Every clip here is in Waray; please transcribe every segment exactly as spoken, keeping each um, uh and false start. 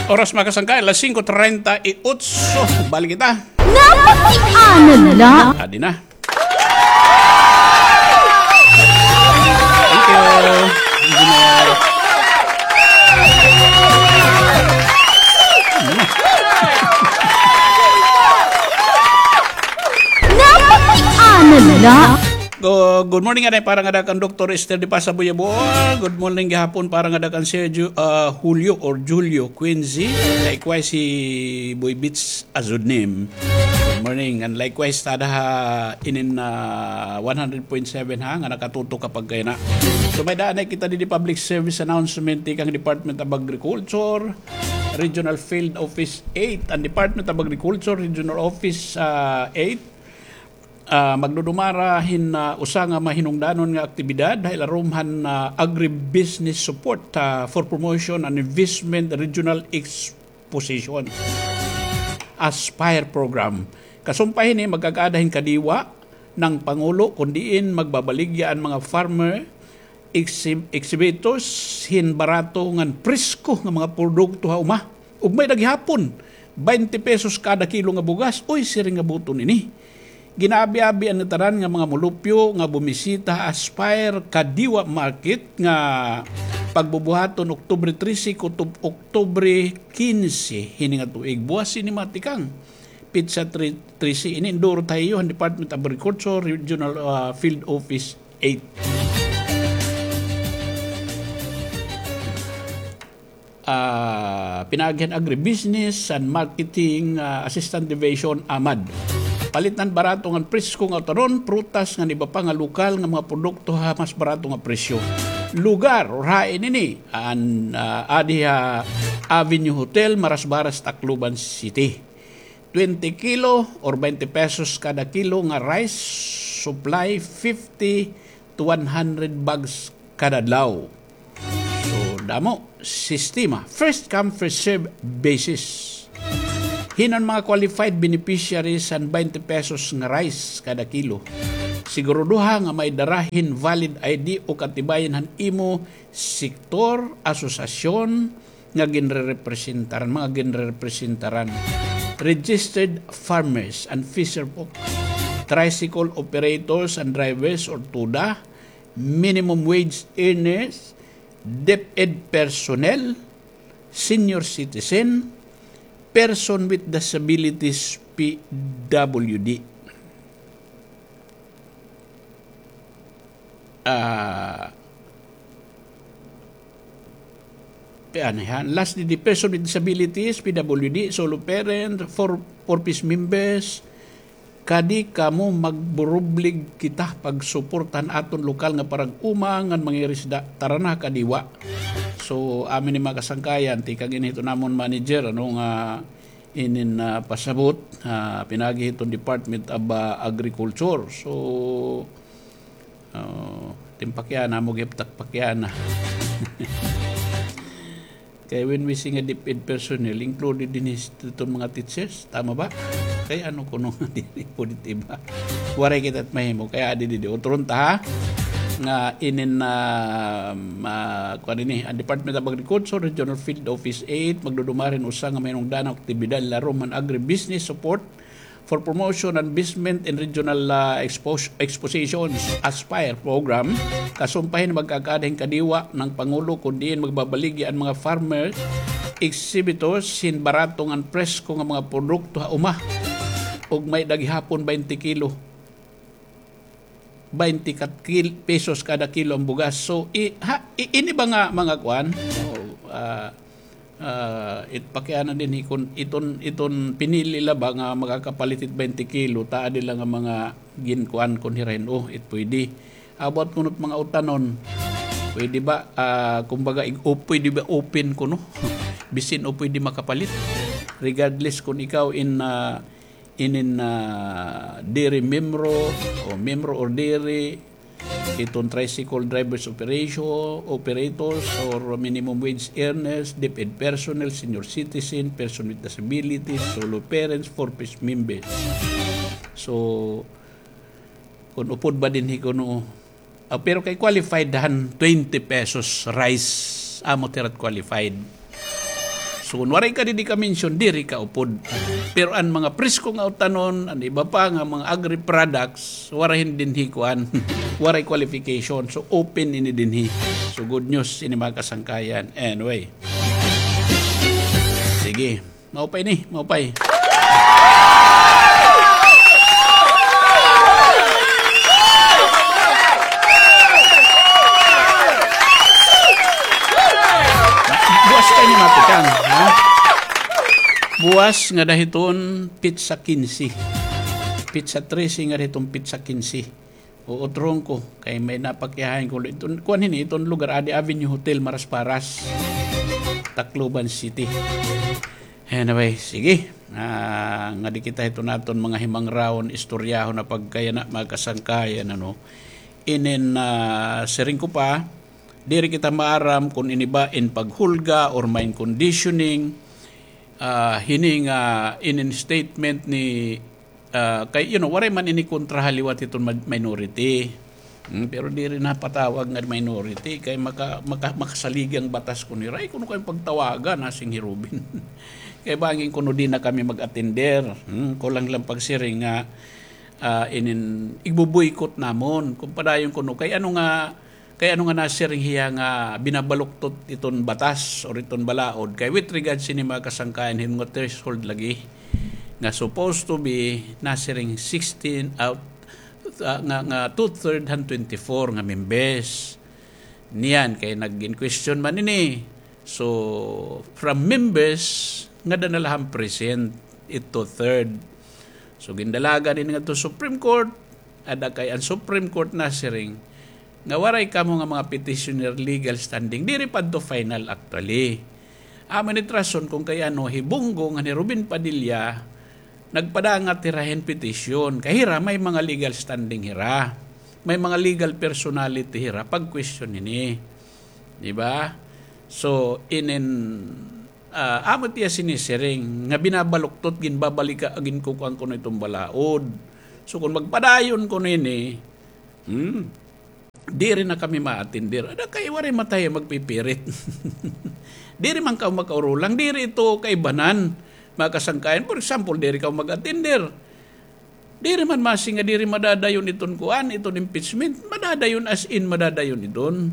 Oras, mga kasangkay, alas singko treinta y ocho. Balik kita. Napakiana la. Adi na. Thank you, Engineer. Napakiana la. Go-, good morning, anay, para ngada kan Doktor Esther de Pasa Buyabol. Good morning gihapon para ngada kan Sergio, ah, Julio or Julio Quincy. Likewise, si Boy Beats Azudnim. Good morning. And likewise, tada ha inin, ah, one hundred point seven ha, nga nakatutok ka pagkayana. So, may-ada anay kita didi public service announcement tikang Department of Agriculture, Regional Field Office eight. An Department of Agriculture, Regional Office, ah, eight, ah, magdudumara hin, ah, usa nga mahinungdanon nga aktibidad ha ilarom han, ah, Agribusiness Support, ah, for Promotion and Investment Regional Exposition, Aspire Program. Kasumpay hini, magkakaada hin kadiwa ng Pangulo, kun diin magbabaligya an mga farmer exhi-, exhibitors hin barato ngan presko nga mga produkto ha uma. Ug may-ada gihapon, baynte pesos kada kilo nga bugas. Uy, siring nga buton ini. Ginaabi-abi an ngatanan nga mga mulupyo nga bumisita ha Aspire Kadiwa Market nga pagbubuhaton Oktubre trese kutob Oktubre kinse hini nga tuig. Buwas ini, mga tikang. Petsa tre-, trese ini, indurot ha iyo han Department of Agriculture, Regional, ah, Field Office eight. Ah, pinaagi han Agribusiness and Marketing, ah, Assistant Division, AMAD. Palit han barato ngan presko nga utanon, prutas ngan iba pa nga lokal nga mga produkto ha mas barato nga presyo. Lugar or hain ini, an, ah, adi ha Avenue Hotel, Marasbaras, Tacloban City. Twenty kilo or baynte pesos kada kilo nga rice supply, fifty to one hundred bags kada adlaw. So, damo, sistema, first come, first serve basis. Hin-o an mga qualified beneficiaries han baynte pesos nga rice kada kilo? Siguraduha nga may dara hin valid I D o katibayan han imo sektor, asosasyon, nga ginrerepresentaran, mga ginrerepresentaran, registered farmers and fisherfolk, tricycle operators and drivers or TODA, minimum wage earners, DepEd personnel, senior citizen, person with disabilities, P W D. Ah, Kay ano yan? Last didi, person with disabilities, P W D, solo parent, four, four Ps members. Kadi kamo magburublig kita pagsuporta han aton lokal nga parag-uma ngan mangirisda. Tara na, kadiwa. So, amin ni mga kasangkayan, tikang ini hiton amon manager, ano nga inin, ah, pasabot, ah, pinaagi hiton Department of, ah, Agriculture. So, Oo, tim pakiana mo gihap tak pakiana. Kay when we say nga DepEd personnel, included dinhi iton mga teachers, tama ba? Kay ano kuno nga diri pwede iba? Waray kita it mahimo, kay adi didi. Uturon ta, ha? Nga inin, ah, ah, kuan ini, an Department of Agriculture, Regional Field Office eight, magdudumara hin usa nga mahinungdanon nga aktibidad, larom han agribusiness support, for promotion and investment in regional, ah, expos-, expositions, Aspire program, kasumpay hin magkakaada hin kadiwa ng Pangulo, kun diin magbabaligya an mga farmer exhibitors hin barato ngan presko nga mga produkto ha uma, ug may-ada gihapon baynte kilo. Baynte kat kil-, pesos kada kilo an bugas. So, i-, ha, i-, ini ba nga mga kuan? Oh, ah, ah, it pakiana dinhi kun iton, iton pinili la ba nga makakapalit hit baynte kilo, ta adi la nga mga ginkuan kun hira hin, oh, it pwede. About kuno it mga utanon, pwede ba, ah, kumbaga, ig-, o pwede ba open kuno? Bisan o pwede makapalit. Regardless kun ikaw in, ah, inin, ah, diri miyembro o miyembro or diri, iton tricycle drivers operation, operators or minimum wage earners, DepEd personnel, senior citizen, person with disabilities, solo parents, four Ps members. So, kun upod ba dinhi kuno, Ah, pero kay qualified han twenty pesos rice, amo it ira it qualified. So, kun waray ka didi ka-mention, diri ka upod. Pero an mga presko nga utanon, an iba pa nga mga agri-products, waray hin dinhi kuan, waray qualification. So, open ini dinhi. So, good news ini, mga kasangkayan. Anyway. Sige. Maupay ni, maupay. Buwas kay ni matikang, ha? Buwas ngada hiton petsa kinse. Petsa trese ngada hiton petsa kinse. Uutron ko, kay may napakiyahan ko. Iton, kuan hini, iton lugar, adi Avenue Hotel, Marasparas, Tacloban City. Anyway, sige. Ah, ngadi kita hiton aton mga himangrawon, istoryahon na pagkayana, mga kasangkayan, ano. Inin, ah, siring ko pa, diri kita maaram kun ini ba in paghulga or mind conditioning, ah, hini nga inin statement ni Ah, kay, you know, waray man ini kontra ha liwat hiton ma-, minority. Hmm, pero diri napatawag nga minority kay maka-, maka-, makasaligang batas kuno hira. Ay, kuno kay pagtawagan, nasing hi Robin. Kay bangin kuno di na kami mag-attender. Hmm, kulang lang pagsiring nga, ah, inin, igbo-boycott namon. Kun padayon kuno, kay ano nga, Kay ano nga nasiring hiya nga binabaluktot iton batas or iton balaod? Kay with regards sini mga kasangkayan, hin mga threshold lagi nga supposed to be nasiring sixteen out, ah, nga, nga two-third han twenty-four nga members. Niyan kay nag-in question man ini. So, from members, ngada na la han present, it two-third. So, gindalagan ini ngadto Supreme Court, ada kay an Supreme Court nasiring nga waray kamo nga mga petitioner legal standing. Diri pa adto final actually. Amo ini it rason kun kay ano hi Bong Go ngan hi Robin Padilla nagpadangat hira hin petition. Kay hira may mga legal standing hira. May mga legal personality hira pag-question ini. Di ba? So, inin, ah, amo it iya sinisiring nga binabaluktot, ginbabalika, ginkukuan kuno iton balaod. So, kun magpadayon kuno ini, hmm, diri na kami ma-attender. Ada kay waray man tayo magpipirit. Diri man kamo makaurulang, diri ito kaibanan, mga kasangkayan. For example, diri kamo mag-attender. Diri man masi nga diri madadayon iton kuan, iton impeachment. Madadayon, as in, madadayon iton.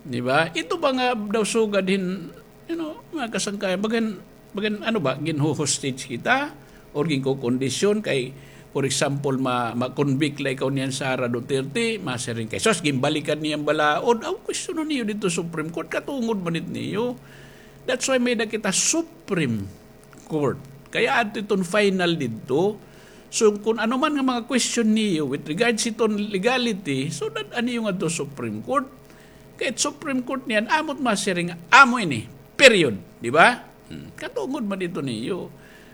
Di ba? Ito ba nga daw sugad hin, you know, mga kasangkayan, bagan, bagan, ano ba, ginho-hostage kita? Or ginkokondisyon kay, for example, ma-, ma-convict la ikaw niyan Sara Duterte, masiring kay, "Sus, ginbalikan niya an balaod." Aw, questionon niyo didto Supreme Court, katungod man it niyo. That's why may-ada kita Supreme Court. Kay adto iton final didto. So, kun ano man nga mga question niyo with regards hiton legality, so, dad-a niyo ngadto Supreme Court. Kay it Supreme Court niyan, amo it masiring, amo ini. Period. Di ba? Hmm. Katungod man didto niyo.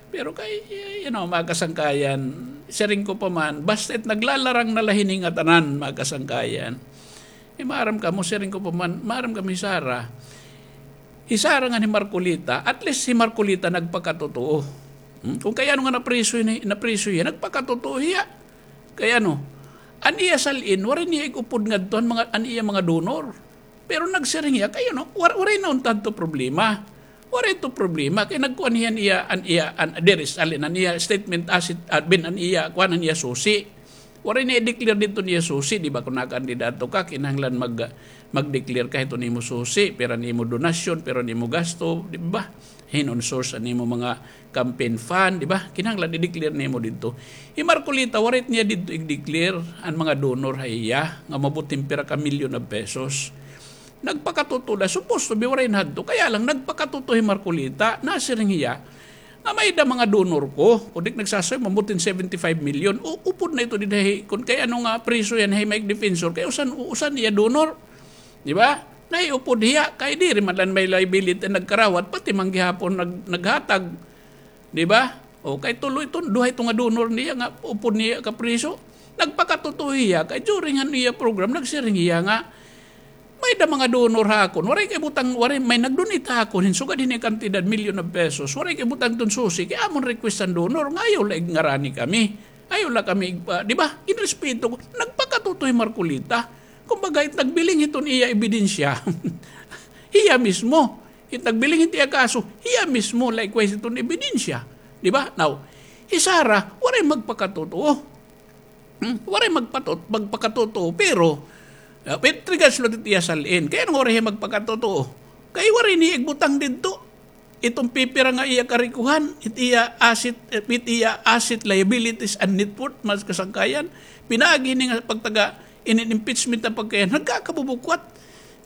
Pero kay, you know, mga kasangkayan, siring ko pa man, basta it naglalarang na la hini ngatanan, mga kasangkayan. Eh, maaram kamo, siring ko pa man, maaram kami hi Sara. Hi Sara ngan hi Marcolita, at least hi Marcolita nagpakatotoo. Hmm? Kun kay ano nga napriso ini, napriso hiya, nagpakatotoo hiya. Kay ano, an iya sal-in, waray niya ig-upod ngadto an mga, an iya mga donor. Pero nagsiring hiya, kay ano, war-, waray na unta adto problema. Waray ito problema. Kay nagkuan hiya an iya, an iya, an, diri, sal-in, an iya statement asset, ah, bin, an iya, kuan, an iya susi. Waray niya i-declare didto an iya susi, di ba? Kun nakakandidato ka, kinahanglan mag-, mag-declare ka hiton imo susi, pira an imo donasyon, pira an imo gasto, di ba? Hin-o an source an imo mga campaign fund, di ba? Kinahanglan i-declare nimo didto. Hi Marcolita, waray niya didto i-declare an mga donor ha iya, nga umabot hin pira ka million of pesos. Nagpakatotoo la, supposed to be waray na hadto. Kaya lang, nagpakatotoo hi Marcolita, nasiring hiya, nga may-ada mga donor ko, kundi nagsasabi, mabutin seventy-five million. U-, upod na ito dida hi, kun kay ano nga priso yan, hi Mike Defensor, kay usan, usan iya donor. Di ba? Nahiupod hiya, kay diri man lang may liability nagkarawat, pati man gihapon nag-, naghatag. Di ba? O, kay tulo ito, duha ito nga donor niya nga upod niya kapriso. Nagpakatotoo hiya, kay during an iya program, nagsiring hiya nga, may-ada mga donor ha akon. Waray kay butang, waray, may nag-donate ha akon hin sugad hini kantidad, million of pesos. Waray kay butang iton susi, kay amon request an donor, nga ayaw la igngarani kami. Ayaw la kami, ah, di ba? Ginrespeto ko. Nagpakatotoo hi Marcolita. Kumbaga, it nagbiling hiton iya ebidensya. Hiya mismo. It nagbiling hit iya kaso, hiya mismo, likewise, iton ebidensya. Di ba? Now, hi Sara, waray magpakatotoo. Hmm? Waray magpatot-, magpakatotoo, pero, ah, with regards la hit iya sal-in, kay ano nga waray hiya magpakatotoo? Kay waray niya igbutang didto iton pipira nga iya karikuhan, it iya asset, eh, it iya asset, liabilities, and net worth, mga kasangkayan. Pinaagi hini nga pagtaga inin impeachment nga pagkayan, nagkakabubukwat.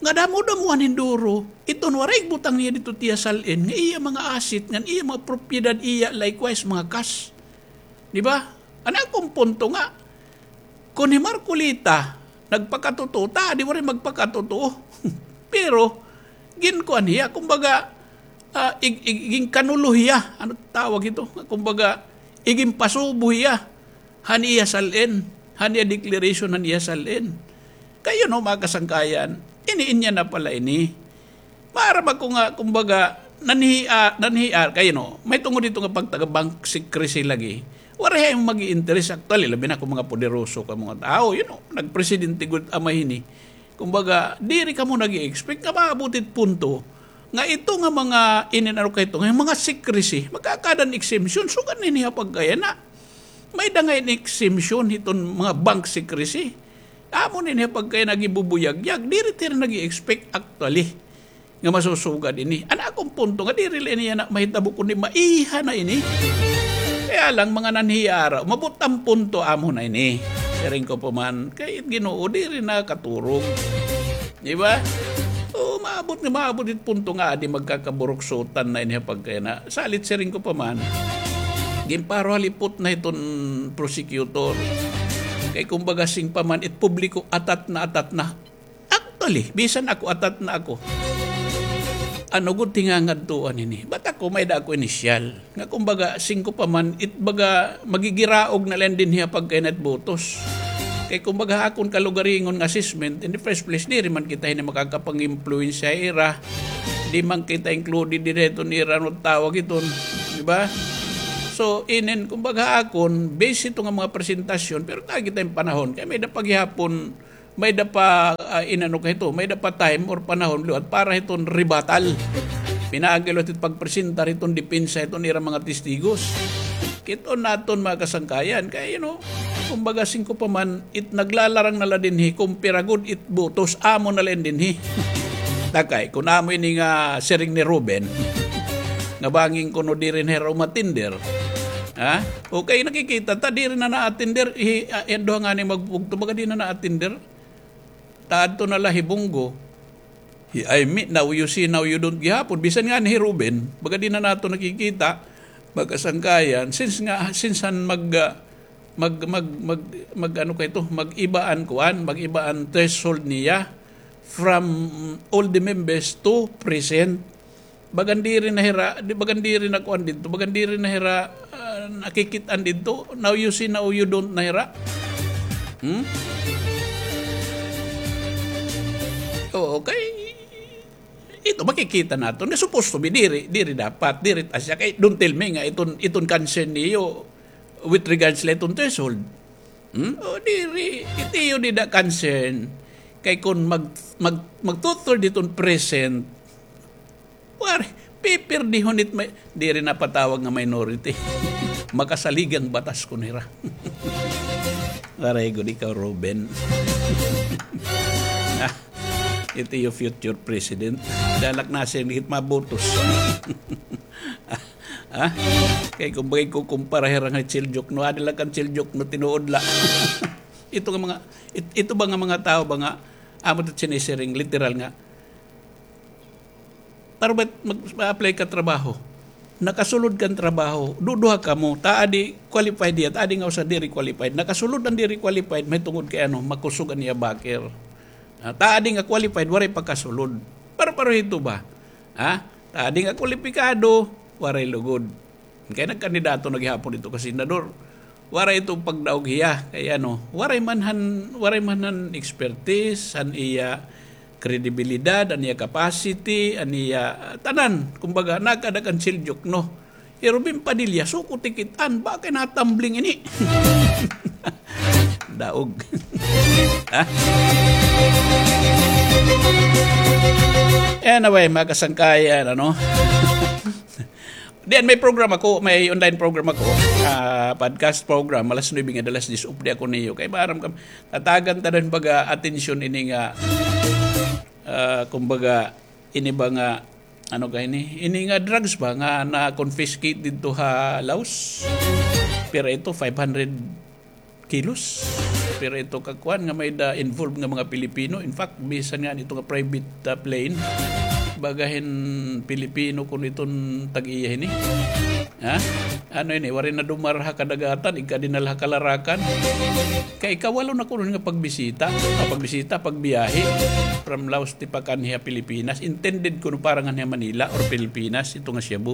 Nga damo-damohan hin duro, iton waray igbutang niya didto it iya sal-in, nga iya mga asset, ngan iya mga propiedad, iya likewise mga cash. Di ba? An akon punto nga, kon hi Marcoleta nagpakatotoo, ta, di waray magpakatotoo. Pero, ginkuan hiya, kumbaga, ah, ig-, ig-, ginkanulo hiya, ano tawag ito? Kumbaga, iginpasubo hiya han iya sal-in, han iya declaration han iya sal-in. Kay, you know, mga kasangkayan, ini, inya na pala ini. Maaram ako nga, kumbaga, nanhi-, ah, nanhi-, ah, kay, you know, may tungod dito nga pagtaga bank secrecy lagi. Waray hay mag-i-interest actually, labi na kon mga poderoso ka mga tao, you know, nagpresidente gud amay hini. Kumbaga, diri kamo nag-i-expect nga maabot it punto nga ito nga mga ininaro kay ito, nga mga secrecy, magkakaada hin exemption, sugad na ini ha pagkayana. May-ada ngay-an exemption hiton mga bank secrecy. Amo na ini ha pagkayana gibubuyagyag, diri tira nag-i-expect actually nga masusugad ini. An akon punto nga diri la ini yana mahitabo kundi maiha na ini. Kaya lang mga nanhi-ara, umabot an punto amo na ini. Siring ko pa man, kay it Ginoo diri nakaturog. Di ba? O, maabot nga maabot it punto nga adi magkakaburuksutan na ini ha pagkayana. Salit siring ko pa man, ginparo halipot na hiton prosecutor. Kay kumbaga siring pa man, it publiko atat na atat na. Actually, bisan ako, atat na ako. Ano gud tingangadtuan ini? Ba't ako, may-ada ako inisyal? Nga kumbaga, siring ko pa man, it baga, magigiraog na la dinhi ha pagkayana it botos. Kay kumbaga, ha akon kalugaringon nga assessment, in the first place, diri man kita hini makakapang-impluwensya ha ira. Di man kita included diri hiton ira, ano tawag hiton, di ba? So, inin, kumbaga, ha akon, base ito nga mga presentasyon, pero ta, kita hin panahon, kay may-ada pa gihapon may-ada pa, ah, inano ka hito, may-ada pa time or panahon liwat para hiton rebuttal. Pinaagi liwat hit pagpresentar hiton depensa hiton ira mga testigos. Kit-on naton mga kasangkayan, kay, you know, kumbaga siring ko pa man, it naglalarang na la dinhi, kon pira gud it botos, amo na la ini dinhi. Takay, kon amo ini nga siring ni Ruben, nga bangin kuno diri na hira umatender. Ha? Okay, nakikita ta, diri na naatender, hi, ah, an duha ngani magbugto, baga di na naatender. Ta adto na la hi Bong Go. Hi, I mean, now you see, now you don't gihapon. Bisan ngani hi Ruben, baga di na naton nakikita, mga kasangkayan, since nga, since han mag, ah, mag, mag, mag, mag, ano ka ito, mag-iba an kuan, mag-iba an threshold niya from all the members to present. Bagan diri na hira, di, bagan diri na kuan didto, bagan diri na hira, ah, nakikit-an didto. Now you see, now you don't na hira. Hmm? Oo, kay ito, makikita naton nga supposed to be diri, diri dapat, diri ta siya. Kay don't tell me nga iton, iton concern niyo with regards la iton threshold. Hmm? O, diri, it iyo dida concern. Kay kon mag, mag, mag two-third iton present, Waray, pipirdihon it may, diri na patawag nga minority. Makasalig an batas kon hira. Waray gud ikaw, Ruben. Ah, it iyo future president. Dalak na siya hit mabotos. Ah, kay kumbaga ikukumpara hira nga Chil Diokno, adi la kan Chil Diokno, tinuod la. Ito nga mga, it-, ito ba nga mga tawo ba nga, amo it sinisiring, literal nga, Para ba mag-, ma-apply ka trabaho? Nakasulod kan trabaho, duduha kamo, ta adi qualified hiya, ta adi nga usa diri qualified. Nakasulod an diri qualified, mahitungod kay ano, makusog an iya bakir. Ah, ta adi nga qualified, waray pakasulod. Paro-paro hito ba? Ha? Ta adi nga kwalipikado, waray lugod. Kay nagkandidato na gihapon ito ka senador. Waray ito pagdaog hiya. Kay ano, waray man han, waray man han expertise, han iya kredibilidad, an iya capacity, an iya, ah, tanan. Kumbaga, nakaada kan Chil Diokno. Hi Robin Padilla, suko tikit-an, ba kay natumbling ini. Taog. Ha? Anyway, mga kasangkayan, ano? Diyan, may program ako, may online program ako, ah, podcast program, alas nuebe nga alas diyes, updi ako niyo. Kay maaram kam, tatagan ta daw hin baga atensyon ini nga, ah, kumbaga, ini ba nga, ano ka ini? Ini nga drugs ba nga na-confiscate didto ha Laos? Pero ito, five hundred kilos. Pero ito kakuan nga may da involved nga mga Pilipino. In fact, bisan nga nito nga private, ah, plane, baga hin Pilipino kun iton tag-iya hini. Ha? Ano ini? Waray na dumara ha kadagatan, igkadinala ha Kalarakan. Kay ikawalo na kuno nga pagbisita. Ah, pagbisita, pagbiyahe. From Laos tipakan hiya Pilipinas. Intended kuno para nga niya Manila or Pilipinas, ito nga Cebu.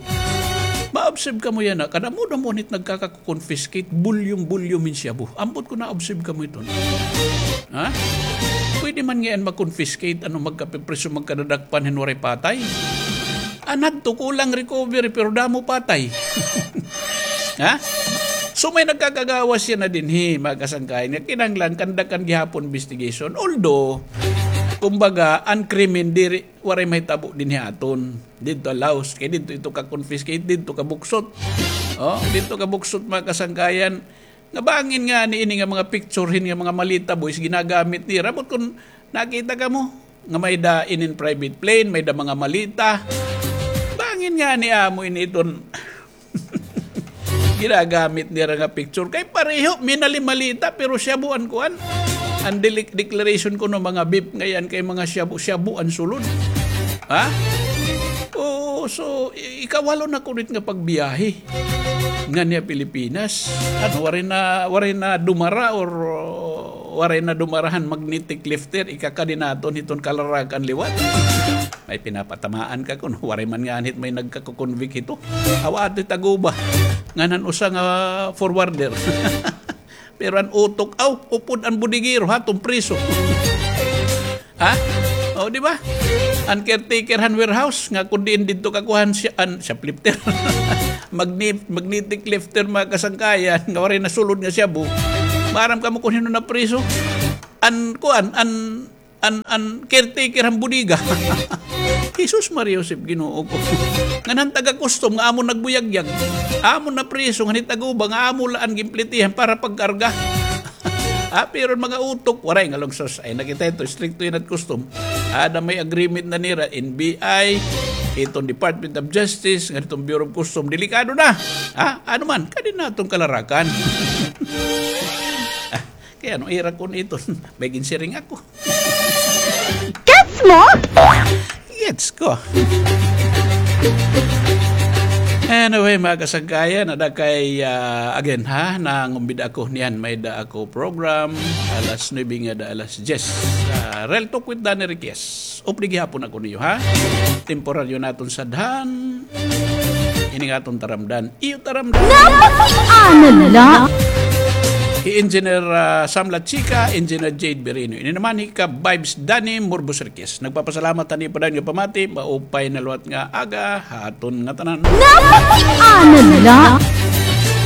Ma-observe kamo yana, kada amo daw mo nit nagkaka- confiscate, volume-volume hin shabu. Ambot ko na-observe kamo iton. Ha? Pwede man ngay-an ma-confiscate, ano, magkapipriso, magkadadakpan hin waray patay. An hadto, kulang recovery, pero damo patay. Ha? So, may nagkakagawas yana dinhi, mga kasangkayan, nga kinahanglan, kandakan gihapon investigation. Although, kumbaga, an krimen diri, waray mahitabo dinhi aton. Didto Laos, kay didto ito ka-confiscate, didto kabuksot. Oh, didto kabuksot, mga kasangkayan. Nga bangin ngani ini nga mga picture hin nga mga malita, boys, ginagamit nira. Ambot kun nakita kamo, nga may da inin private plane, may da mga malita. Bangin ngani amo ini iton ginagamit nira nga picture. Kay pareho, minali-malita, pero shabu an kuan. An deli-, declaration kuno mga beef ngay-an kay mga shabu, shabu an sulod. Ha? Oo, so, i-, ikawalo na kuno it nga pagbiyahe ngan hiya Pilipinas. Ano, waray na, waray na dumara or, uh, waray na dumara han magnetic lifter, ikakadi naton hiton Kalarakan liwat. May pinapatamaan ka kuno, waray man ngani it may nagkako-convict hito. Awa ato it Taguba, ngan han usa nga forwarder. Pero an utok, aw, upod an bodegero, ha, iton priso. Ha? O, di ba? An caretaker han warehouse, nga kun diin didto kakuha han sya-, an shoplifter. Magnet-, magnetic lifter, mga kasangkayan, nga waray nasulod nga shabu. Maaram kamo kun hin-o napriso? An, kuan, an, an, an caretaker han bodega. Jesus, Maria Josep, Ginoo ko. Ngan han taga-custom nga amo nagbuyagyag. Amo napriso, ngan hi Taguba nga amo la an ginplitihan para pagkarga. Ah, pero mga utok, waray nga lungsos. Ay, nakita ito, istrikto yana it custom. Ada may agreement na nira, N B I, iton Department of Justice, ngan iton Bureau of Custom. Delikado na. Ha? Ano man, kadi naton Kalarakan. Ah, kay ano, ira kun iton, may ginsiring ako. Gets mo? Gets ko. Anyway, mga kasangkayan, ada kay, ah, again, ha, nangumbida ako niyan, may da ako program, alas nuebe nga da alas diyes. Ah, Real Talk with Danny Riquez. Updi gihapon ako niyo, ha? Temporaryo naton sadhan. Ini nga aton taramdan. Iyo taramdan. Napakiana la. Hi Engineer, ah, Sam Lachica, Engineer Jade Berino. Ini naman hi Ka-Vibes Danny Murbos Riquez. Nagpapasalamat han iyo padayon nga pamati. Maupay na liwat nga aga ha aton ngatanan. Napakiana la.